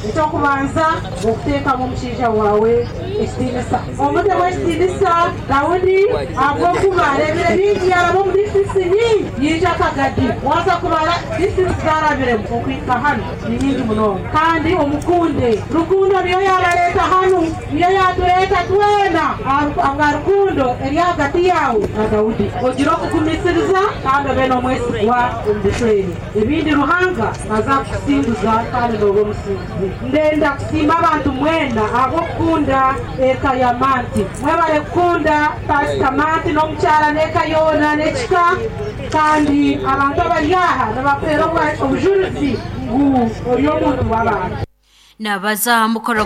Ekyokubanza, okuteekamu omushaija waawe ekitiinisa, omutemu ekitiinisa Daudi, ahabw'okuba areebire bingi, yaaraba omu disiturikiti nyingi, yaija Kagadi. Waaza kubara disiturikiti zarabiremu okuhika hanu ni nyingi munonga. Kandi omukunde. Rukundo niyo yaabareeta hanu, niyo yaatureeta twena ahabwa rukundo eri ahagati yaawe na Daudi. Ogire okugumisiriza kandi obe n'omwesigwa omu bushwere. Ebindi Ruhanga naaza kukusinguza kandi nooba omusinguzi. Ndenda kusiima abantu mwena ahabw'okukunda eka ya Manti. Mwebare kukunda Paasita Manti n'omukyara n'eka yoona n'ekika. Kandi abantu abari aha nibakuheera obujurizi ngu ori omuntu w'abantu. Nabaza aha mukoro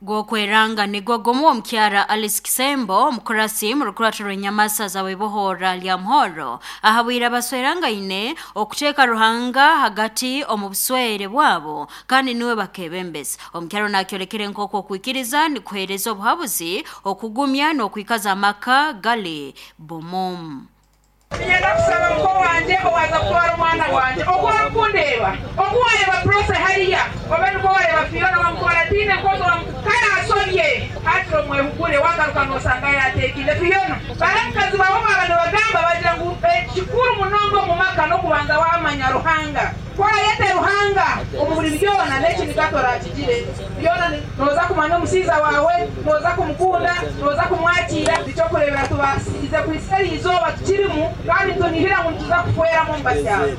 gw'okweranga nigwo gumu, omukyara Alice Kisembo, omukurasi mu rukurato rw'enyamasa zawe bohora lya Muhoro, ahabwire abaswerangaine okuteeka Ruhanga hagati omu buswere bwabo kandi niwe bakebembeza. Omukyaro nakyolekere nk'oku okwikiriza nikuheereza obuhabuzi okugumya n'okwikaza amaka gali bomomu. Niinyenda kusaba muko wangye owaaza kutwara omwana wangye. Oku orikundeba, oku wareba Prossy hariya, obe nikwo wareba Fiona wamutwara ataine nkozi, kare asobye, hakiri omwehugure, wagaruka nosanga yateekaine. Fiona, bari abakazi baawe baaba nibagamba bagira ngu ekikuru munonga omu maka n'okubanza wamanya Ruhanga. Ku orayete Ruhanga omu buri byona, n'ekiniga torakigire. Byona nooza kumanya omushaija waawe, nooza kumukunda, nooza kumwakiira. Nikyokureebera tubaasize kuhitsya eri izooba tukirimu, kandi nitunihira ngu nituza kufweramu omu bakyaro.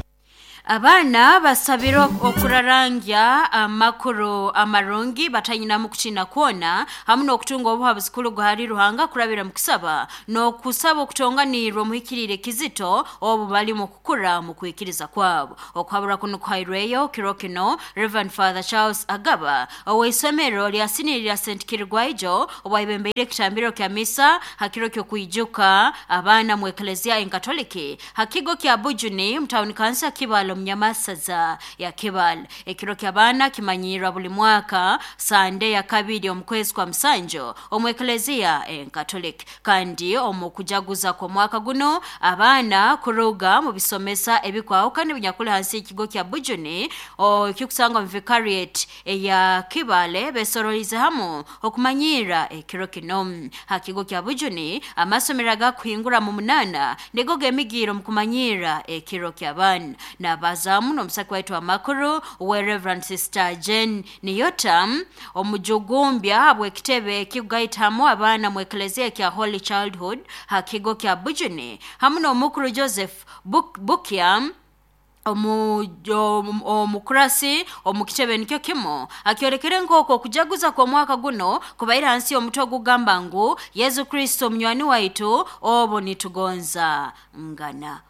Abaana basabire okurarangya amakuru amarungi batanyinamu kutina kwona, hamu n'okutunga obuhabuzi kuruga hali Ruhanga kurabira mu kusaba n'okusaba okutonganirwa omuhikiriire kizito obu bali mu kukura mu kwikiriza kwabo. Okuhabura kuno kuhairweyo kiro kino Reverend Father Charles Agaba ow'isomero lya siniya lya St Kirigwaijo, obwayebembeire ekitambiro kya misa ha kiro ky'okwijuka abaana mu Eklezia Enkatoliki ha kigo kya Bujuni mu tawuni kansa Kibale omu Nyamasaza ya Kibale. Ekiro ky'abaana kimanyirwa buli mwaka Sande ya kabiri omu kwezi kwa musanju omu Eklezia Enkatoliki. Kandi omu kujaguza kw'omwaka guno, abaana kuruga mu bisomesa ebikwahukana ebinyakuli hansi y'ekigo kya Bujuni ekikusangwa mu vicariate eya Kibale besorolize hamu okumanyirra ekiro kino. Ha kigo kya Bujuni, amasomero agakuhingura mu 8 nigo gemigiire omu kumanyirra ekiro ky'abaana. Nabazaamu n'omusaki waitu amakuru we Reverend Sister Jane Niyota, omujugumbya habw'ekitebe ekikugaitamu abaana mu Eklezia kya Holy Childhood ha kigo kya Bujuni, hamu n'omukuru Joseph Bukya, omukurasi omu kitebe nikyo kimu, akyolekere nk'oku okujaguza kw'omwaka guno kubaire hansi y'omutwe ogugamba ngu Yesu Kristo omunywani waitu obu nitugonza ngana.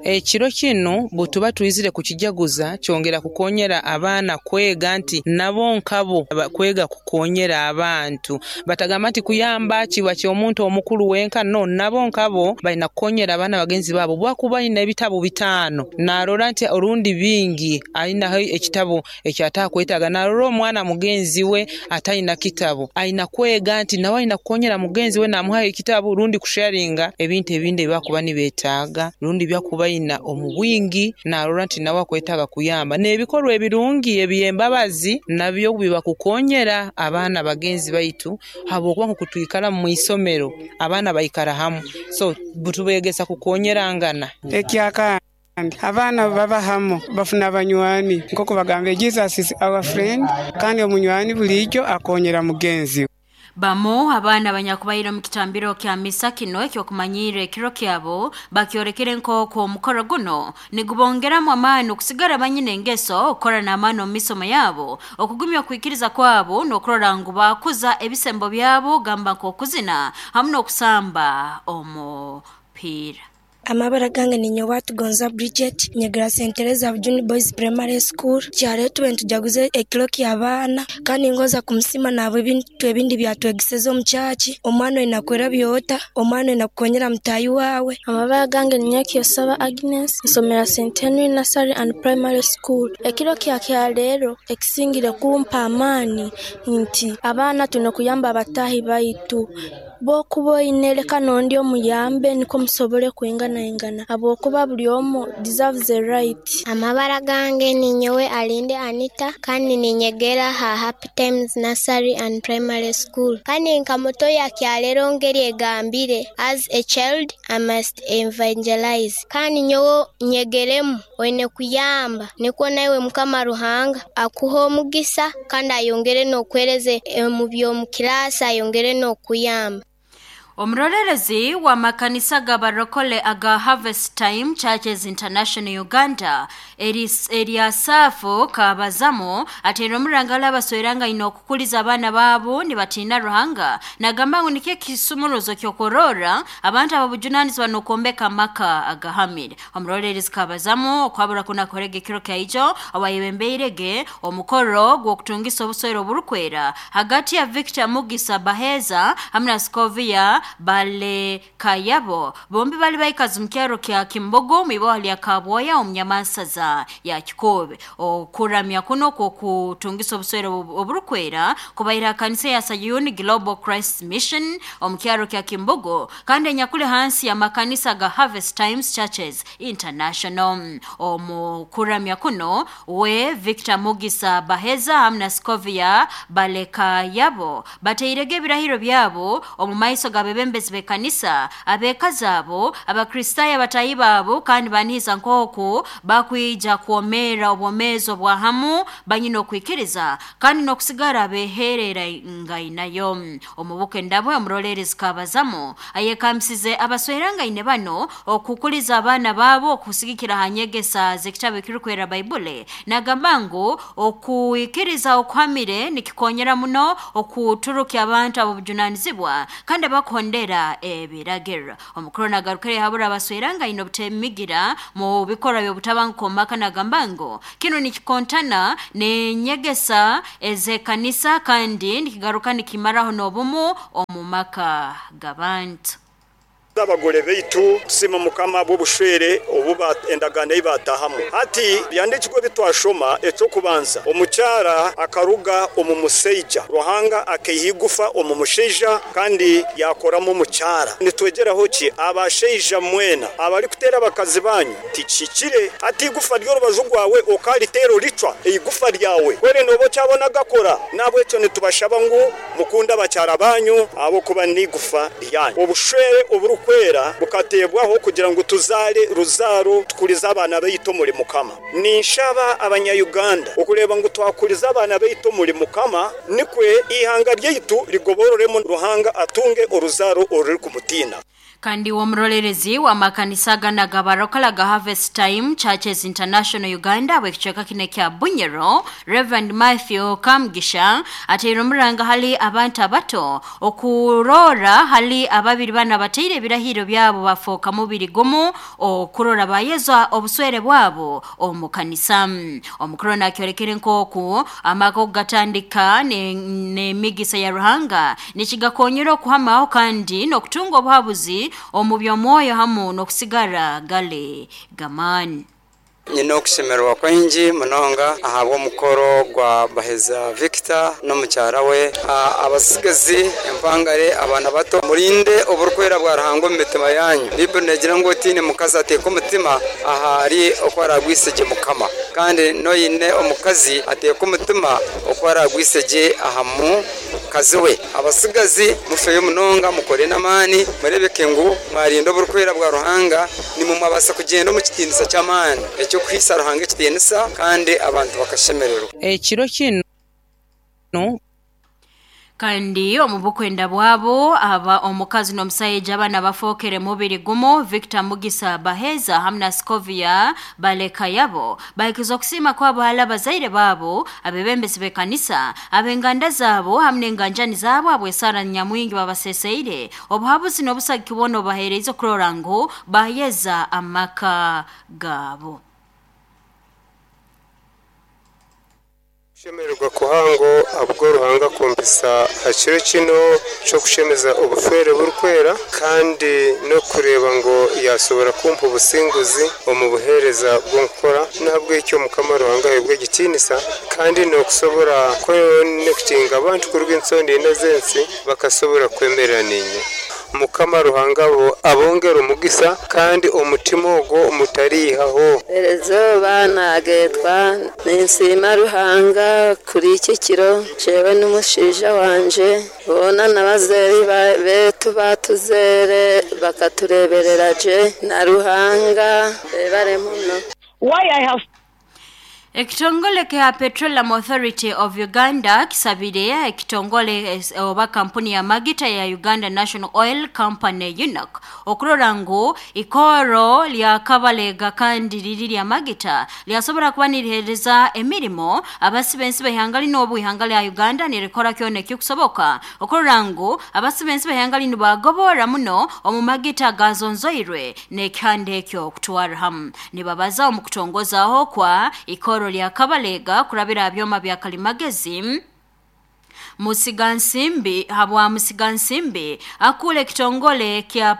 Ekiro kinu bwetuba twizire kukijaguza kyongera kukonyera abaana kwega nti nabo nkabo kwega kukonyera abantu. Batagamba nti kuyamba kiba ky'omuntu omukulu wenka, no, nabo nkabo balina kukonyera abaana bagenzi baabo. Bwakuba ayina ebitabu 5 narora nti orundi bingi ayinaho ekitabu ekyatakwetaaga, narora omwana mugenzi we atalina kitabu, ayina kwega nti nawe ayina kukonyera mugenzi we namuhayo ekitabu rundi kusharinga ebintu ebindi ebibakuba nibetaaga rundi byakuba ayina omu bwingi, narora nti nawe akwetaaga kuyamba. N'ebikorwa ebirungi eby'embabazi nabyo bibakukonyera abaana bagenzi baitu, habwokuba nkoku twikara mu isomero abaana baikara hamu, so tubegesa kukonyerangana. Ekyakandi, abaana baba hamu bafuna abanywani, nk'oku bagamba, "Jesus is our friend", kandi omunywani buliijo akonyera mugenzi we. Bamu abaana abanyakubaire omu kitambiro kya misa kino ekyokumanyirra ekiro kyabo bakyolekere nk'oku omukoro guno nigubongeramu amaani okusigara banyina engeso, okukora n'amaani omu misomo yabo, okugumya okwikiriza kwabo n'okurora ngu bakuza ebisembo byabo, gamba nk'okuzina hamu n'okusamba omupiira. Amabara gange ninye Watugonza Bridget, nyegera St Teresa Bujuni Boys Primary School. Kyaro tube nitujaguza ekiro ky'abaana, kandi ngoza kumusima nabwo ebintu ebindi byatwegeseze omu kyaki. Omwana oina kwerabya ota, omwana oina kukonyera mutayi wawe. Amabara gange ninye Kiyosaba Agnes, nsomera St Henry Nursery and Primary School. Ekiro kya kyaleero ekisingire kumpa amaani nti abaana twine kuyamba abatahi baitu. Bw'okuba oine leka n'ondi omuyambe nikwo musobole kwingana. kwinganaingana habwokuba buli omu deserves a right. Amabara gange ninyowe Alinde Anita, kandi ninyegera ha Happy Times Nursery and Primary School. Kandi nka muto ya kyalero ngeri egambire, as a child I must evangelize. Kandi nyowe nyegeremu oine kuyamba nikwo naiwe Mukama Ruhanga akuha omugisa kandi ayongere n'okwereze mu by'omu kirasi, ayongere n'okuyamba. Omurorerezi wa makanisa g'abarokole aga Harvest Time Churches International Uganda Eriasafu Kabazamo ateera omurangala abasweranga ino okukuliza abaana baabo nibatiina Ruhanga, nagamba ngu nikyo ekisumuruzo ky'okurora abantu ababujunanizibwa n'okwombeka amaka agahamire. Omurorerezi Kabazamo okwabura kunakorega ekiro kyaijo awayebembeirege omukoro gw'okutungisa obuswere oburukwera hagati ya Victor Mugisa Baheza hamwe na Scovia Bale Kayabo, bombi bali baikazi mu kyaro kya Kimbogo mwiboha lya Kabwoya omunyamansaza ya Kikobe. Okuramya kuno kwokutungisa obuswere oburukwera kubaira kanisa ya Sayuni Global Christ Mission omu kyaro kya Kimbogo, kandi enyakuli hansi ya makanisa ga Harvest Times Churches International. Omu kuramya kuno we Victor Mugisa Baheza hamwe na Scovia Bale Kayabo bateirege ebirahiro byabo omu maiso g'abebembezi b'ekanisa, abekazi abo, abakristaayo abatahi baabo, kandi banihiza nk'oku bakwija kwomera obwomeezi obwa hamu banyine okwikiriza kandi n'okusigara beherera ngainayo. Omubuka endabwe omurolerezi Kabazamo ayekambisize abaswerangaine bano okukuliza abaana baabo okusigikira ha nyegesa z'ekitabo ekirukwera Baibuli, nagamba ngu okuikiriza okuhamire nikikonyera muno okuturukya abantu ab'obujunanizibwa kandi abakuhondera ebiragiro. Omukuru nagarukire habura abaswerangaine obutemigira mu bikorwa by'obutabanguko omu maka, nagamba ngu kinu nikikontana n'enyegesa ez'ekanisa kandi nikigaruka nikimaraho n'obumu omu maka g'abantu. Abagore baitu tusima Mukama bw'obushwere obu endagaano ei batahamu. Hati byandikirwe bitwashoma ekyokubanza, omukyara akaruga omu musaija, Ruhanga akaiha igufa omu mushaija kandi yakoramu omukyara. Nitwegeraho ki? Abashaija mwena abarikuteera abakazi banyu tikihikire. Hati igufa ry'orubaju rwawe okariteera oricwa eigufa ryawe kwere noba okyabona gakora. Nabwekyo nitubashaba ngu mukunde abakyara banyu ahabw'okuba n'igufa ryanyu. Obushwere oburukwera bukatebwaho kugira ngu tuzare ruzaaro tukurize abaana baitu omuri Mukama. Ninshaba abanya-Uganda okureba ngu twakuriza abaana baitu omuri Mukama, nikwe ihanga ryaitu rigobororemu Ruhanga atunge oruzaaro orurikumutina. Kandi w'omurorerezi w'amakanisa gana g'abarokole ga Harvest Time Churches International Uganda bw'ekicweka kino kya Bunyoro, Reverend Matthew Kamugisha ateire omuranga hali abantu abato okurora hali ababiri bana bateire ebirahiro byabo bafooka mubiri gumu okurora bayezwa obuswere bwabo omu kanisa. Omukuru nakyorekere nk'oku amaka okugatandika n'emigisa ya Ruhanga nikigakonyera okuhamaho kandi n'okutunga obuhabuzi omu by'omwoyo hamu n'okusigara gale gamani. Nyine okushemererwa kwingi munonga ahabw'omukoro gwa Baheza Victor n'omukyara we. Abasigazi empangare abaana bato, murinde oburukwera bwa Ruhanga omu mitima yanyu. Bibuli negira ngu otiine mukazi ateeka omutima ahari oku aragwisegye Mukama, kandi n'oine omukazi ateeka omutima oku aragwisegye aha mukazi we. Abasigazi mufeyo munonga, mukore n'amaani, murebeke ngu mwarinda oburukwera bwa Ruhanga, nimwe mwabasa kugyenda omu kitiinisa ky'amaani ekyokuhiisa Ruhanga ekitiinisa kandi abantu bakashemererwa. Ekiro kinu Kandi omu bukwenda bwabo aba omukazi n'omusaija abana bafookere mubiri gumu, Victor Mugisa Baheza hamwe na Scovia Balekayabo bahikiza okusiima kwabo hali abazaire baabo, abebembezi b'ekanisa, ab'enganda zaabo hamwe n'enganjani zaabo abwesara nyamwingi babaseseire obuhabuzi n'obusagiki bwona obubaheereize okurora ngu bayeza amaka gaabo. Kushemererwa kuhango ahabwo Ruhanga kumpisa aha kiro kino ky'okushemeza obufere burukwera, kandi n'okureeba ngu yasobora kumpa obusinguzi omu buheereza bw'okukora. Nahabwekyo Mukama Ruhanga aheebwe ekitiinisa, kandi n'okusobora kwekonekitinga abantu kuruga ensonda ina z'ensi bakasobora kwemerera niinye. Mukama Ruhanga abongere omugisa kandi omutima ogwo mutariihaho. Erizooba naagetwa ninsiima Ruhanga kuri eki kiro jewe n'omushaija wangye boona n'abazeeyi beetu baatuzeere bakatureeberera gye na Ruhanga beebare muno. Why I have Ekitongole kya Petroleum Authority of Uganda kisabire ekitongole oba kampuni ya magita ya Uganda National Oil Company UNOC okurora ngu ikoro lya Kabalega kandi riri lya magita lyasobora kuba nirihereza emirimo abasibensi b'ihanga lino obu ihanga lya Uganda nirikora kyona ekikusoboka okurora ngu abasibensi b'ihanga lino bagobora muno omu magita gazonzoirwe n'ekihanda ekyo kutwara hamu nibabaza omu kutongozaho kwa ikoro lya Kabalega kurabira byoma bya kalimagezi Musigansimbi habwa Musigansimbi akule kitongole kya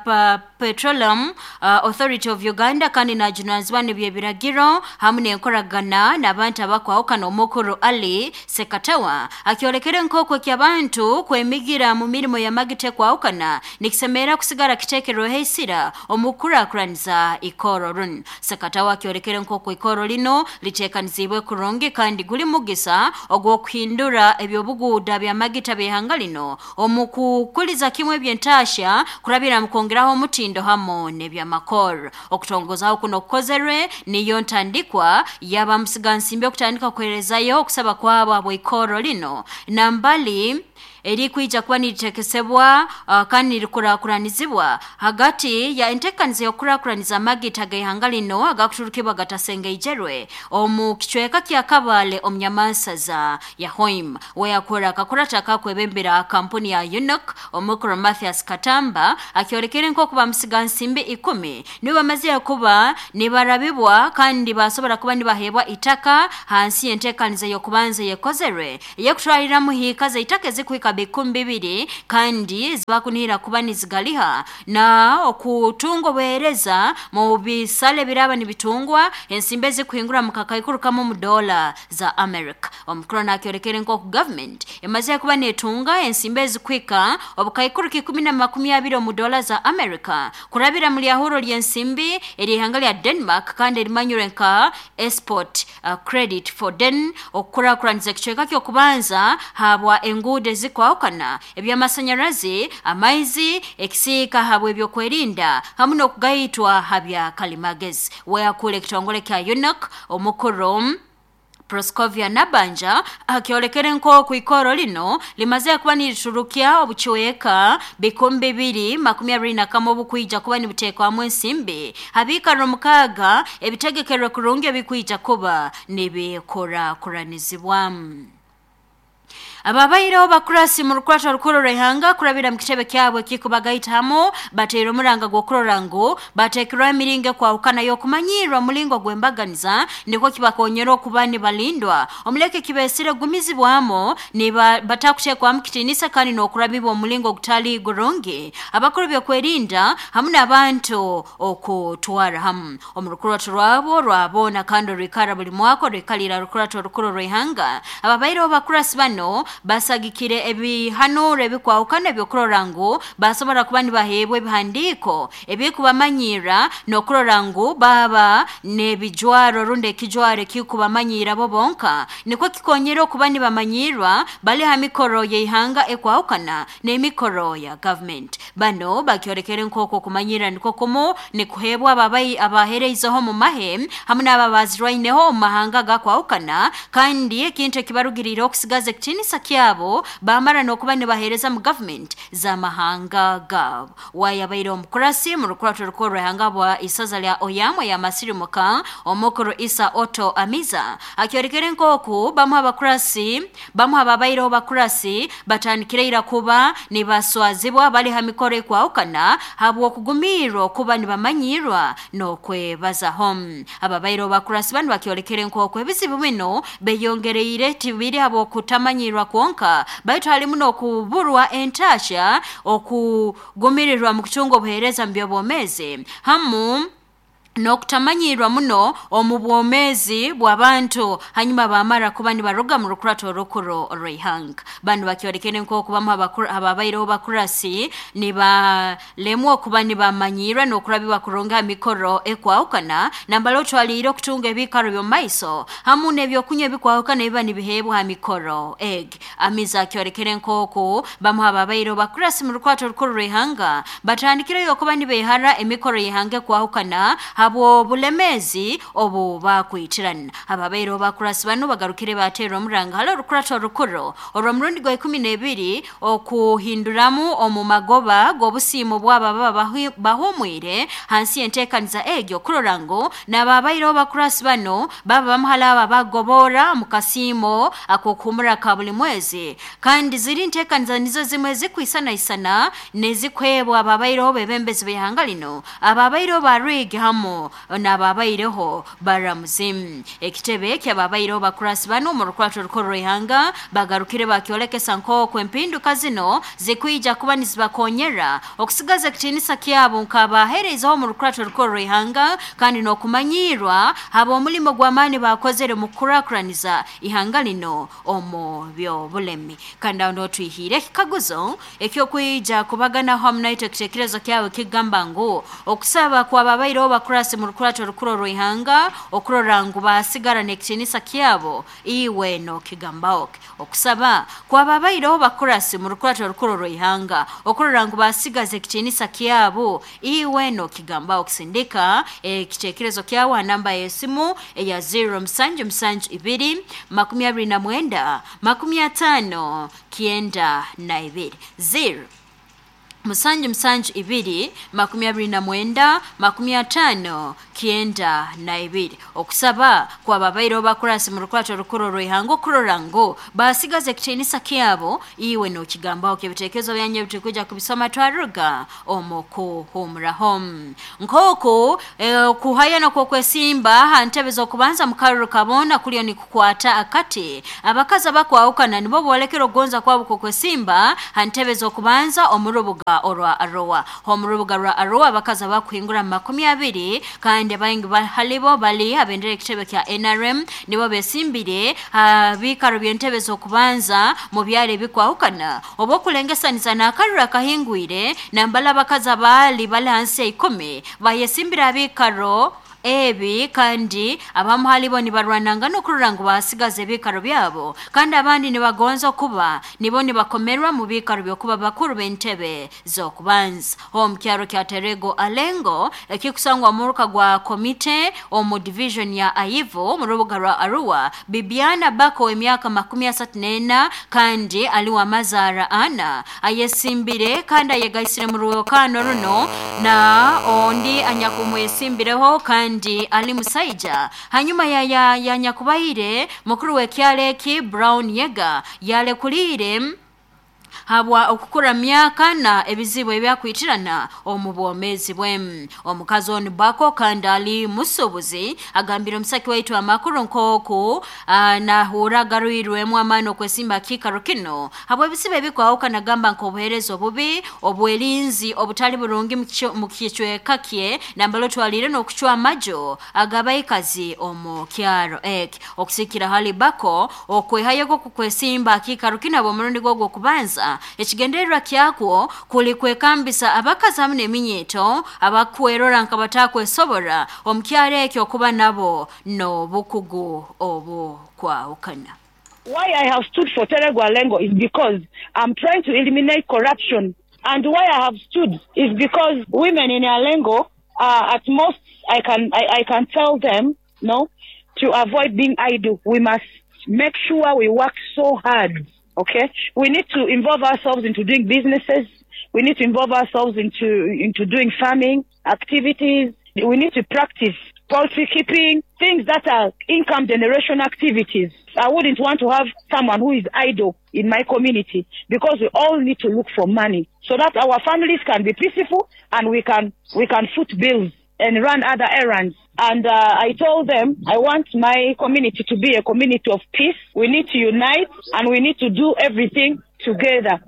Petroleum Authority of Uganda kandi najunanizibwa n'ebyebiragiro hamu n'enkoragana n'abantu abakwahukana omukuru Ali Sekatawa akyolekere nk'okwo ky'abantu kwemigira mu mirimo ya magite kwahukana nikisemera kusigara kiteekerweho esira omu kukurakuraniza ikoro runu. Sekatawa akyolekere nk'okwo ikoro lino liteekanizibwe kurungi kandi guli mugisa ogw'okuhindura ebyobuguuda bya magita by'ihanga lino omu kukuliza kimwe eby'entasya kurabira mu kwongeraho omutindo hamu n'ebyamakoro. Okutongozaho kuno kukozerwe niyo ntandikwa yaba musigansimbi okutandika kuherezayo okusaba kwabo abw'ikoro lino nambali erikwija kuba niritekesebwa kandi nirikurakuranizibwa hagati ya entekaniza y'okurakuraniza amagita g'ihanga lino agakuturukibwa gatasengeijerwe omu kicweka kya Kabale omu nyamansaza ya Hoima. Weyakora akakurata akakwebembera kampuni ya UNOC omukuru Mathias Katamba akyolekere nk'okuba musigansimbi 10 nibo bamaze kuba nibarabibwa kandi basobora kuba nibahebwa itaka hansi y'entekaniza y'okubanza yekozerwe eyekutwaliramu hiika z'itaka ezikuhika 20,000 kandi zibakunihira kuba nizigaliha na okutunga obuheereza mu bisale biraba nibitungwa ensimbi ezikuhingura mu kakaikuru kamwe mu dola za America. Omukuru nakyolekere nk'oku government emaze kuba netunga ensimbi ezikuhika obukaikuru 120 mu dola za America kurabira mu lyahuro ly'ensimbi ery'ihanga lya Denmark kandi erimanyirwe nka export credit for Den okukurakuraniza ekicweka ky'okubanza habwa enguudo ezikwahukana ebyamasanyarazi amaizi ekisiika habwa ebyokwerinda hamu n'okugaitwa habya kalimagezi. Weyakula ekitongole kya UNOC omukuru Proscovia Nabanja akyolekere nk'oku ikoro lino limaze kuba niriturukya obucweka 2021 obukwija kuba nibuteekwamu ensimbi habiikaro 6 ebitegekerwe kurungi ebikwija kuba nibikurakuranizibwa. Ababaireho bakurasi mu rukwata rukuru rw'ihanga kurabira mu kitebe kyabwe kikubagaita hamu bateire omuranga gw'okurora ngu bateekerwaho emiringo ekwahukana y'okumanyirwa omulingo gw'embaganiza nikwo kibakonyera okuba nibalindwa omuleke kibeesire gumizibwamu batakuteekwamu kitiinisa kandi n'okurabibwa omulingo ogutali gurungi abakuru by'okwerinda hamu n'abantu okutwara hamu omu rukurato rwabo rwaboona kandi orwikara buli mwaka orwikalira rukurato rukuru rw'ihanga. Ababaireho bakurasi bano basagikire ebihanuro ebikwahukana ebyokurora ngu basobora kuba nibaheebwa ebihandiiko ebikubamanyira n'okurora ngu baba n'ebijwaro rundi ekijwaro ekikubamanyira bo bonka nikwo kikonyera okuba nibamanyirwa bali ha mikoro y'ihanga ekwahukana n'emikoro ya government. Bano bakyolekere nk'okwo okumanyira nikwo kumu nikuheebwa abaheereizeho mu mahe hamu n'ababazirwaineho omu mahanga gakwahukana kandi ekintu ekibarugiriire okusigaza ekitiinisa kyabo bamara n'okuba nibaheereza mu government z'amahanga gaabo. Wayabaire omukurasi mu rukurato rukuru rw'ihanga bwa isaza lya Oyamwe ya Masirimuka omukuru Isa Otto Amiza akyolekere nk'oku bamu ababaireho bakurasi batandikire ira kuba nibaswazibwa bali ha mikoro ekwahukana habw'okugumirwa okuba nibamanyirwa n'okwebazaho. Ababaireho bakurasi banu bakyolekere nk'oku ebizibu bino beyongereire tibiri habw'okutamanyirwa kwonka baitu halimu n'okuburwa entasya okugumirirwa mu kutunga obuheereza mu by'obwomeezi hamu N'okutamanyirwa muno omu bwomeezi bw'abantu hanyuma bamara kuba nibaruga mu rukurato orukuru orw'ihanga. Banu bakyolekere nk'oku bamu ababaireho bakurasi nibalemwa okuba nibamanyirwa n'okurabibwa kurungi ha mikoro ekwahukana, nambala otwaliire okutunga ebiikaro by'omu maiso hamu n'ebyokunywa ebikwahukana ebiba nibiheebwa ha mikoro egi. Amizi akyolekere nk'oku bamu ababaireho bakurasi mu rukurato orukuru rw'ihanga batandikireyo okuba nibeehara emikoro y'ihanga ekwahukana habw'obulemeezi obu bakwitirana. Ababaireho bakurasi banu bagarukire bateera omuranga hali orukurato orukuru orw'omurundi gwa 12 okuhinduramu omu magoba g'obusiimo bwabo ababa bahumwire hansi y'enteekaniza egyo kurora ngu n'ababaireho bakurasi banu baba bamu hali abo abagobora mu kasiimo ak'okuhumura ka buli mwezi. Kandi ziri nteekaniza nizo zimwe ezikwisanaisana n'ezikwebwa ababaireho bebembezi b'ihanga lino, ababaireho ba Rwigi hamu n'ababaireho baramuzi. Ekitebe ky'ababaireho bakurasi banu omu rukurato orukuru rw'ihanga bagarukire bakyolekesa nk'oku empinduka zino zikwija kuba nizibakonyera okusigaza ekitiinisa kyabo nk'abaheereizeho omu rukurato orukuru rw'ihanga kandi n'okumanyirwa habw'omulimo gw'amaani bakozere mu kukurakuraniza ihanga lino omu by'obulemi. Kandi aho niho twihiire ekikaguzo ekyokwija kubaganaho hamu naitwe ekiteekerezo kyawe kigamba ngu okusaba kw'ababaireho bakurasi mu rukurato orukuru orw'ihanga okurora ngu basigara n'ekitiinisa kyabo iwe n'okigambaho ki? Okusaba kw'ababaireho bakurasi mu rukurato orukuru orw'ihanga okurora ngu basigaza ekitiinisa kyabo iwe n'okigambaho. Kisindika ekiteekerezo kyawe ha namba y'esimu eya 0772 29 50 92 0 772 29 50 92. Okusaba kw'ababaireho bakurasi mu rukurato orukuru orw'ihanga okurora ngu basigaza ekitiinisa kyabo iwe n'okigambaho. Ebiteekerezo byanyu ebitukwija kubisoma twaruga omu kuhumuraho. Nk'oku okuhayana kw'okwesimba ha ntebe z'okubanza mu karuru kaboona kuliyo nikukwata akati, abakazi abakwahukana nibo boolekera okugonza kwabo kw'okwesimba ha ntebe z'okubanza omu rubuga orwa Arua. Omu rubuga rwa Arua abakazi abakuhingura mu 20 kandi abaingi halibo bali abendera ekitebe kya NRM nibo besimbire ha biikaro by'entebe z'okubanza mu byaro ebikwahukana oba okulengesaniza n'akaruru akahingwire nambala abakazi abaali bali hansi ya 10 bayesimbire abiikaro ebi kandi abamu halibo nibarwananga n'okurora ngu basigaza ebiikaro byabo kandi abandi nibagonza okuba nibo nibakomerwa mu biikaro by'okuba bakuru b'entebe z'okubanza. Omu kyaro kya Terego Alengo ekikusangwa omuruka gwa komite omu division ya Aivu mu rubuga rwa Arua, Bibiana Bako emyaka 34 kandi ali wa mazaara ana ayesimbire kandi ayegaisire mu rwokano runo na ondi anyakumwesimbireho kandi ali musaija. Hanyuma ya ya nyakubaire mukuru w'ekyaro eki Brown Yega yalekuliire habwa okukura myaka na ebizibu ebyakwitirana omu bwomeezi bwe. Omukazi onu Bako kandi ali musuubuzi agambire omusaki waitu amakuru nk'oku nahurra agarwirwemu amaani okwesimba kiikaro kino habw'ebizibu ebikwahukana gamba nk'obuheereza obubi, obwerinzi obutali burungi mu kicweka kye nambala otwaliire n'okucwa amajo ag'abaikazi omu kyaro eki. Okusikira hali Bako okwehayo kukwesimba kiikaro kino habw'omurundi gwe ogw'okubanza ekigendererwa kyakwo kuli kwekambisa abakazi hamu n'eminyeeto abakwerora nkabatakwesobora omu kyaro ekyo okuba nabo n'obukugu obukwahukana. Why I have stood for Terego Alengo is because I'm trying to eliminate corruption, and why I have stood is because women in Alengo, at most I can tell them no to avoid being idle. We must make sure we work so hard. Okay, we need to involve ourselves into doing businesses. We need to involve ourselves into doing farming activities. We need to practice poultry keeping, things that are income generation activities. I wouldn't want to have someone who is idle in my community, because we all need to look for money so that our families can be peaceful and we can foot bills and run other errands. And I told them I want my community to be a community of peace. We need to unite and we need to do everything together.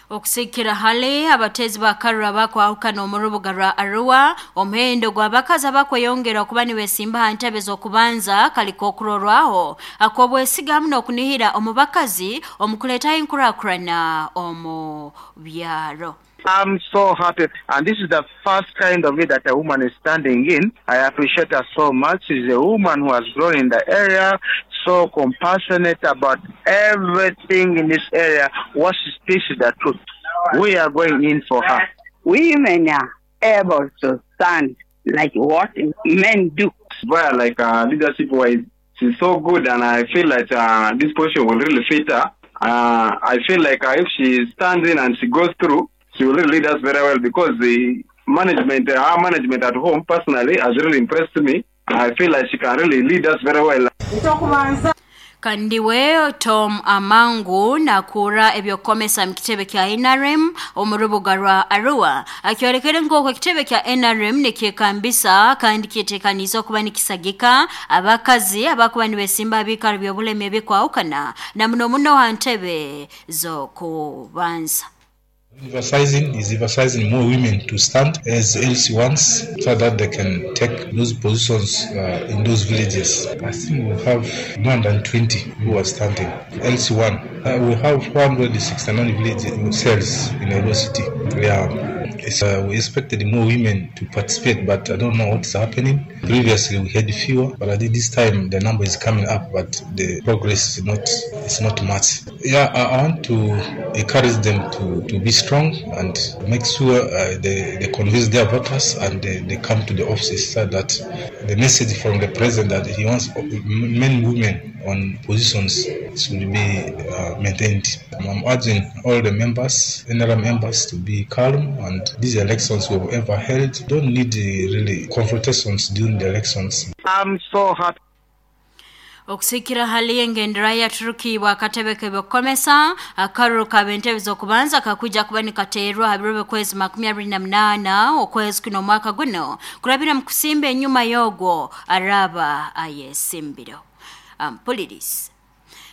Okusikira hali abatezi ba karura bakwahukana omu rubuga rwa Arua, omuhendo gw'abakazi abakweyongera okuba nibesimba ha ntebe z'okubanza kaliko okurorwaho ak'obwesiga hamu n'okunihira omu bakazi omu kuleetaho enkurakurana omu byaro. I'm so happy, and this is the first kind of it that a woman is standing in. I appreciate her so much. She's a woman who has grown in the area, so compassionate about everything in this area. What she speaks is the truth. We are going in for her. Women are able to stand like what men do. Well, like leadership wise, she's so good, and I feel like this position will really fit her. I feel like if she stands in and she goes through, she will really lead us very well, because the management, her management at home personally has really impressed me. I feel like she can really lead us very well. Kandiwe Tom Amangu nakura ebyokomesa mu kitebe kya NRM omu rubuga rwa Arua akyorekere nk'oku ekitebe kya NRM nikyekambisa kandi kyetekaniza okuba nikisagika abakazi abakuba nibesimba abikaro by'obulemi ebikwahukana na muno muno ha ntebe z'okubanza. Emphasizing is emphasizing more women to stand as LC1s so that they can take those positions in those villages. I think we have more than 20 who are standing. LC1, we have 469 village cells in Arua City. Yeah. We expected more women to participate, but I don't know what's happening. Previously we had fewer, but I think this time the number is coming up, but the progress is not much. Yeah, I want to encourage them to be strong and make sure they convince their voters and they come to the offices, so that the message from the president that he wants men and women on positions should be maintained. I'm urging all the members, NRM members, to be calm, and these elections we've ever held don't need really confrontations during the elections. I'm so happy. Okusikira hali engendera ya Turuki wakatebe kebyokomesa akaruru kabentebe z'okubanza kakuja kuba nikateerwa ha biro kwezi 28 okwezi kuno mwaka guno kurabira mu kusimba enyuma yogwo araba ayesimbiro. Ampulirisi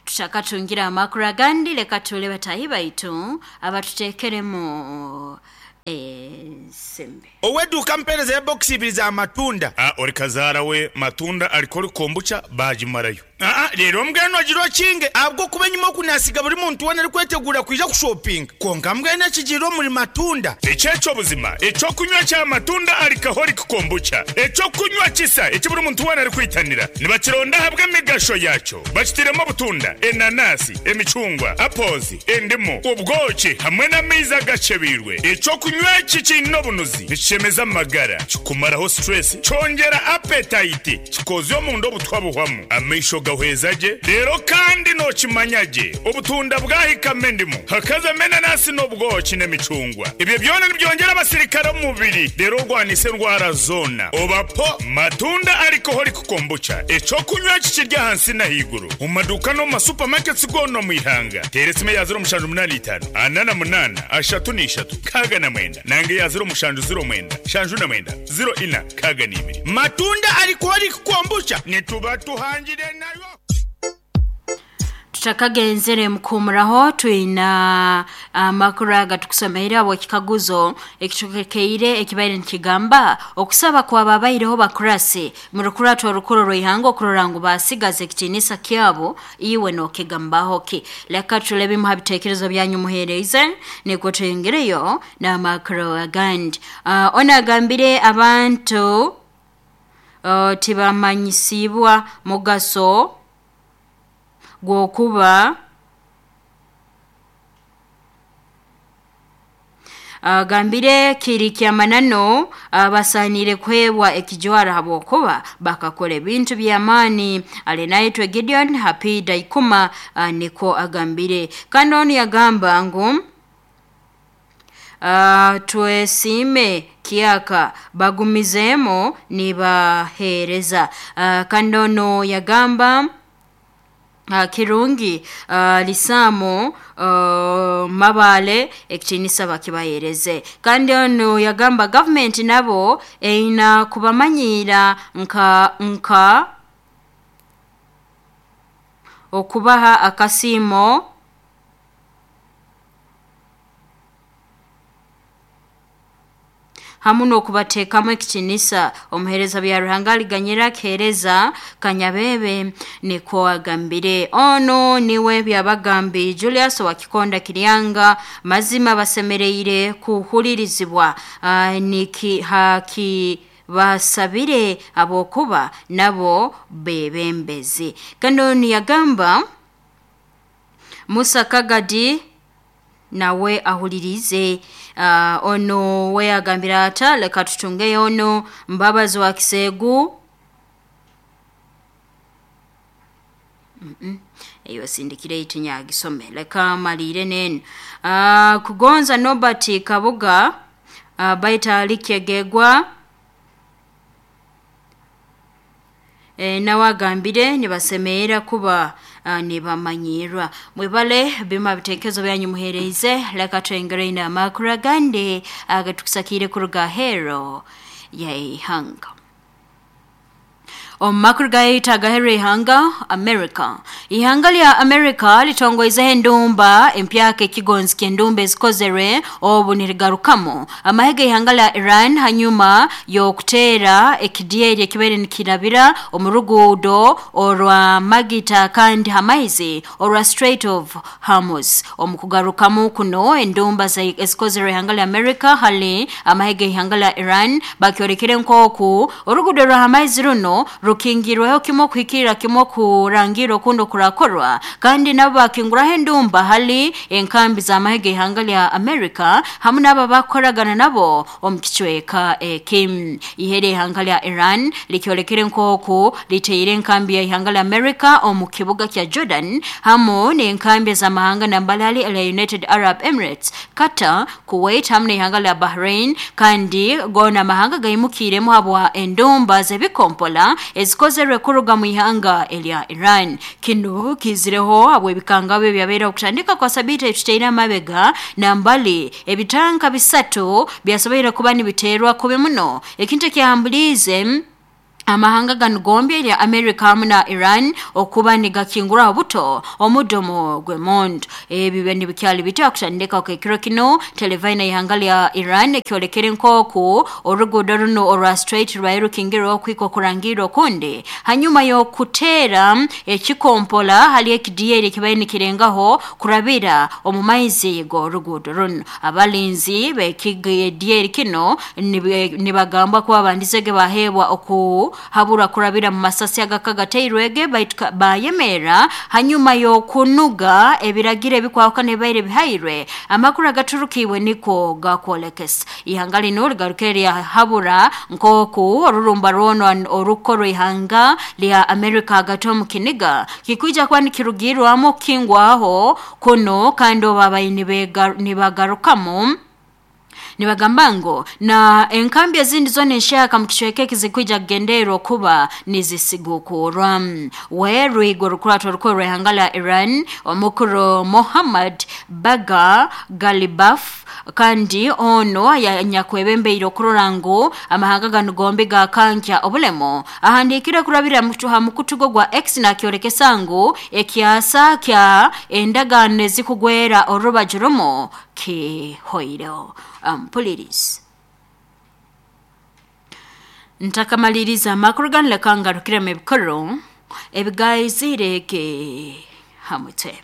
tushakatungira amakuru agandi leka tule batahi baitu abatutekeremu sembe oweduka mpereza ya box ibiri za matunda. Ori kazara we matunda alikori kombucha bajimarayo. Rero mbweno agiro kinge abwo kuba nyuma kunasiga buri muntu wena ari kwetegura kwija kushopping konka mbwene kigiro muri matunda. Echecho buzima echo kunywa cha matunda alcoholic kombucha echo kunywa kisa eki buri muntu wena ari kwitanira nibakironda habwe migasho yacho bakitiremo butunda enanasi emicungwa apples endimu ubwoki hamwe n'amaizi agacebirwe. Echo kunywa kikino bunuzi nikishemeza amagara kikumaraho stress cyongera appetite kikoze omundo obutwa buhwamu amaisho gahwezaje rero kandi nokimanyage obutunda bwahikame endimu hakaza menanasi n'obwoki n'emicungwa ibyo byona nibyongera abasirikare mu mubiri rero rwanise ndwara zona obapo matunda alcoholic kombucha echo kunywa kikirya hansi na higuru mu maduka no mu supermarkets gono mu ihanga teresime ya 085 48 33 69 nange ya 070 9 04 62 matunda alcoholic kombucha nituba tuhangire nayo. Tutakagenzere mkumuraho tuina amakuru agatukusomeera abo kikaguzo ekitukekeire ekibaire nikigamba okusaba kwa babaireho bakurasi murukurato orukuru rwihango okurora ngu basigaze ekitinisa kyabo iwe nokigambaho ki. Leka tulebe mu habitekerezo byanyu muhereze niko tuyengereyo na makuru agandi. Ona agambire abantu tibamanyisibwa mugaso gwokuba gambire kiri kyamanano basanire kwebwa ekijwara habwokuba bakakora ebintu by'amaani. Alinaitwe Gideon Happy Daikuma niko agambire. Kandi ono yagamba ngu twesime kiaka bagumizemo nibahereza. Kandi ono yagamba kirungi lisamo mabale ekitinisa bakibahereze. Kandi ono yagamba government nabo eina kubamanyira nka okubaha akasimo hamu n'okubateekamu ekitinisa. Omuheereza bya Ruhanga aliganyira akiheereza Kanyabebe nikwo agambire. Ono niwe Byabagambi Julius wa Kikonda Kiryanga, mazima basemereire kuhulirizibwa niki haki basabire abokuba nabo bebembezi. Kandi onu yagamba Musa Kagadi nawe ahulirize. Ono we agambira ata leka tutungeyo ono Mbabazi wa Kisegu. Eyo sindikire itinyagisome leka malire nenu. Kugonza Nobert Kabuga baita alikyegegwa nawe agambire nibasemeera kuba nibamanyirwa. Mwebale bima bitekezo byanyu muhereize, leka twengere ina amakuru agandi agatusakire kuruga hero ya ihanga. Omumakuru gaita agahero ihanga America. Ihanga lya America litongoizeho endumba empyaka ekigonzi ky'endumba ezikozerwe obu nirigarukamu amahega ihanga lya Iran hanyuma y'okuteera ekidyeri ekibaire nikirabira omu ruguudo orwa Magita kandi hamaizi orwa Strait of Hormuz. Omu kugarukamu kuno endumba ezikozerwe ihanga lya America hali amahega ihanga lya Iran bakyorekere nk'oku oruguudo rwa hamaizi runo rukingirweho kimwe kuhikirira kimwe kurangira okundi kurakorwa, kandi nabo bakinguraho endumba hali enkambi z'amahega ihanga lya America hamu n'abo bakoragana nabo omu kicweka eki. Ihere ihanga lya Iran likyolekere nk'oku liteire enkambi ya ihanga lya America omu kibuga kya Jordan hamu n'enkambi z'amahanga nambalali lya United Arab Emirates, Qatar, Kuwait hamu n'ihanga lya Bahrain, kandi gona amahanga gaimukiremu habwa endumba z'ebikompola ezikozerwe kuruga mu ihanga elya Iran. Kino kizireho habwe ebikangabo ebyabeera okutandika kwa sabiti ekiteire amabega nambali ebitanka bisatu byasoboire kuba nibiteerwa kubi muno, ekintu ekyambuliize amahanga gano gombi erya America hamu na Iran okuba nigakinguraho buto omudomo gw'emondo. Ebi nibikyali bityo okutandika okekiro kino televaina ihanga lya Iran ekyolekere nk'oku oruguudo runo orwa Strait rwaye rukingirwa okwika okurangira okundi hanyuma y'okuteera ekikompola hali ekidyeri ekibaire nikirengaho kurabira omu maizi g'oruguudo runo. Abalinzi b'ekidyeri kino nibagamba kuba bandizege baheebwa oku habura kurabira mu masasi agakagateirwege baitu bayemera hanyuma y'okunuga ebiragiro ebikwahukana ebibaire bihairwe. Amakuru agaturukiibwe niko gakwolekesa ihanga lino ligarukire lyahabura nk'oku orurumba rwono orukorwa ihanga lya America hagati omu kiniga kikwija kuba nikirugirwamu okukingwaho kuno, kandi obu abayi nibagarukamu nibagamba ngo na enkambi ezindi zona enshaka mu kicweka ekizikwija kugendererwa kuba nizisigukurwa. We rwigo rukurato rukuru rw'ihanga lya Iran omukuru Mohammad Baga Galibaf, kandi ono yanyakwebembeire okurora ngu amahanga gano gombi gakankya obulemo, ahandikire kurabira ha mukutugo gwa X nakyolekesa ngu ekyasa kya endagaano ezikugwera orubaju rumu kihoireho. Mpuliriza ntakamaliriza amakuru ganu leka ngarukiremu ebikuru ebigayizire ge hamutwe.